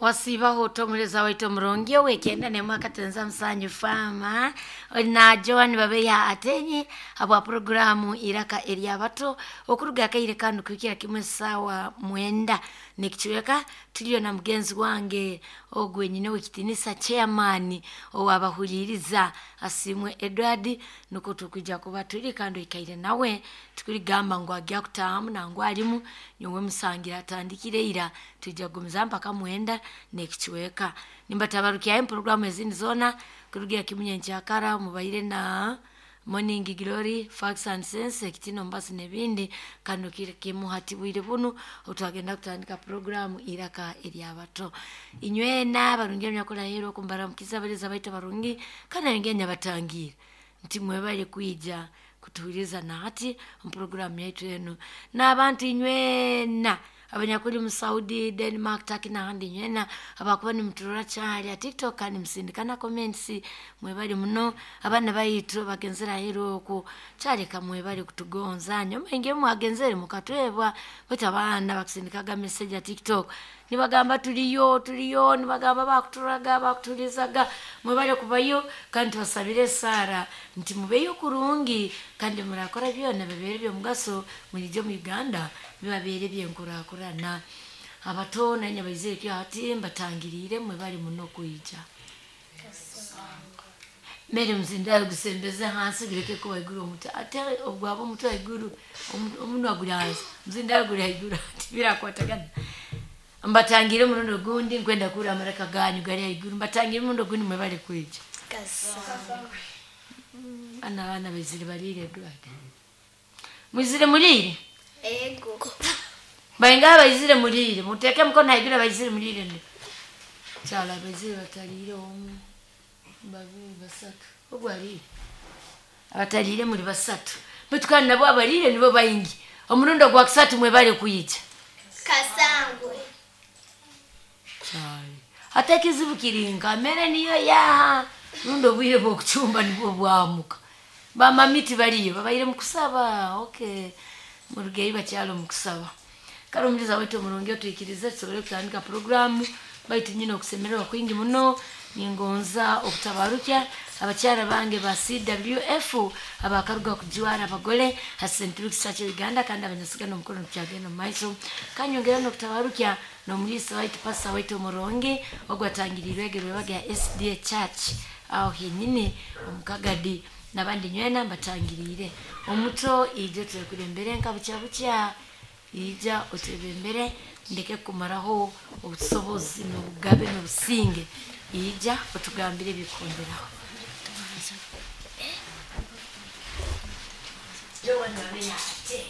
Wasiibaho omuleezi waitu omurungi ow'ekyenda n'emwaka tenza musanju faama na Joan Babeya Atenyi habwa puroguramu Iraka Eryabato okuruga akaire kanu kuhikira kimwe saawa 9 n'ekicweka. Tuliyo na mugenzi wange ogwe nyine w'ekitinisa chairman ow'abahuliiriza Asiimwe Edward, nukwo tukwija kuba tuli kandi oikaire nawe tukuligamba ngu agya kutaahamu nangwa alimu nyowe musangira atandikire ira twija kugumiza mpaka 9 n'ekicweka. Nimbatabarukyayo puroguramu ezindi zoona kurugira kimwe nyenkyakara mubaire na Morning Glory, Facts and Sense, ekitino mbasi n'ebindi kano kiri kimu hati bwire bunu otwagenda kutandika puroguramu Iraka Eryabato. Inywena barungi abanyakulahirwa okumbaramukiza abalezi abaitu abarungi kandi nangye nyabatangiire nti mwebale kwija kutuhuliriza na hati omu puroguramu yaitu enu. N'abantu inywena abanyakuli mu Saudi, Denmark, Turkey n'ahandi inywena abakuba nimuturora kyali ha TikTok kandi musindikana comments mwebale muno. Abaana baitu bagenzere aheeru oku kyaleka mwebale kutugonza nyuma inge mwagenzere mukatwebwa baitu abaana bakusindikaga message ya TikTok nibagamba tuliyo tuliyo, nibagamba bakuturaga bakutulizaga. Mwebale kubayo kandi tubasabire esaara nti mubeyo kurungi kandi murakora byona bibeere by'omugaso mwije omu Uganda bibabeere byenkurakurana. Abato nanye baizire kyo hati mbatangiriire mwebale muno kwija. Mere muzindayo gusembeze hansi gureke kuba haiguru omutwe, ate ogwaba omutwe haiguru omunwa guri hansi, muzindayo guri haiguru ati birakwatagana. Mbatangire omurundi ogundi nkwenda kuhurira amaraka ganyu gari haiguru, mbatangire omurundi ogundi mwebale kwija. Bana abaana baizire bariire Edward. Mwizire muriire? Ego. Baingaha baizire muriire? Muteeke mukono haiguru abaizire muriire ndi. Kyala abaizire batariire omu, babiri, basatu. Ogu ariire. Abatariire muri basatu. Baitu kandi nabo abariire nibo baingi. Omurundi ogwa kusatu mwebale kwija. Kasangwe. Kyali. Hati ekizibu kiri nka mere niyo yaha rundi obwire bw'okucumba nibwo bwamuka. Bamami tibariyo babaire mu kusaba. Okay. Murugeyo bakyali omu kusaba. Kale omuliza waitu omurungi otwikirize tusobole kutandika puroguramu baitu nyine okusemererwa kwingi muno. Ningonza okutabarukya abakyara bange ba CWF abakaruga kujwara abagole ha St. Luke's Church Uganda kandi abanyasigana omukono tukyagenda omu maiso. Kanyongera n'okutabarukya n'omuliisa waitu pastor waitu omurungi ogwatangiriirwe egerwebaga ya SDA Church aho henyini omu Kagadi n'abandi nywena mbatangiriire. Omuto ije twekulembere nka bukya bukya ija otwebembere ndeke kumaraho obusobozi n'obugabe n'obusinge, ija otugambire ebikundiraho. Joan Babeya ate.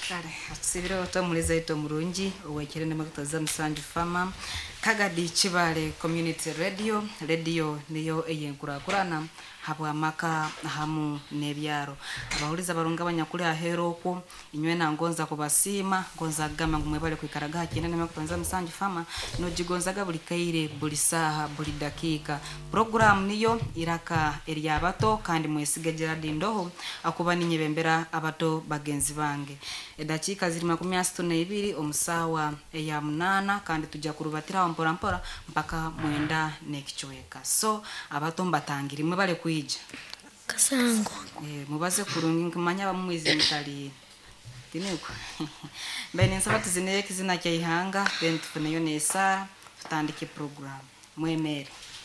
Kale atusibire omuliza waitu omurungi owekire nemwe musanju fama Kagadi Kibale Community Radio, radio niyo eyenkurakurana habwamaka hamu n'ebyaro. Abahuliza barungi abanyakuli aheeru okwo inywena ngonza kubasiima, ngonza kugamba ngu mwebale kwikaraga ha kyenda nemwe musanju fama nogigonzaga buli kaire buli saaha buli dakiika. Puroguramu niyo Iraka Eryabato kandi mwesige Gerard Ndoho akuba ninyebembera abato bagenzi bange. Edakiika ziri 32 omusaawa eya 8 kandi tujja kurubatiraho mpora mpora mpaka 9 n'ekicweka. So abato mbatangire mwebale kwija. Kasangwa. Mubaze kurungi nkumanya abamwizi mutali. Tiniko. Mbe ninsaba tuzineye kizina kya ihanga then tufuneyo n'esaara tutandike program. Mwemere.